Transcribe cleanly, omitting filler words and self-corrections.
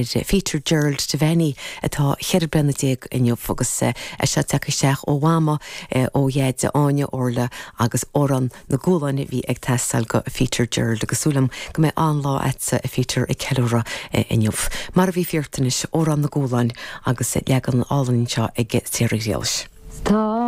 Pheter Gerald Devaney atá 14 bliana inniu agus é seo tagtha isteach ó Mhama, ó Dhaid, Áine, Orla agus Amhrán na gCualáin a bhí ag teastáil go Pheter Gerald agus súil agam go mbeidh an-lá agatsa a Pheter ag ceiliúradh inniu. Mar a bhí Fiart anois, Amhrán na gCualáin agus leagan álainn anseo ag Sarah Ghriallais. Tá.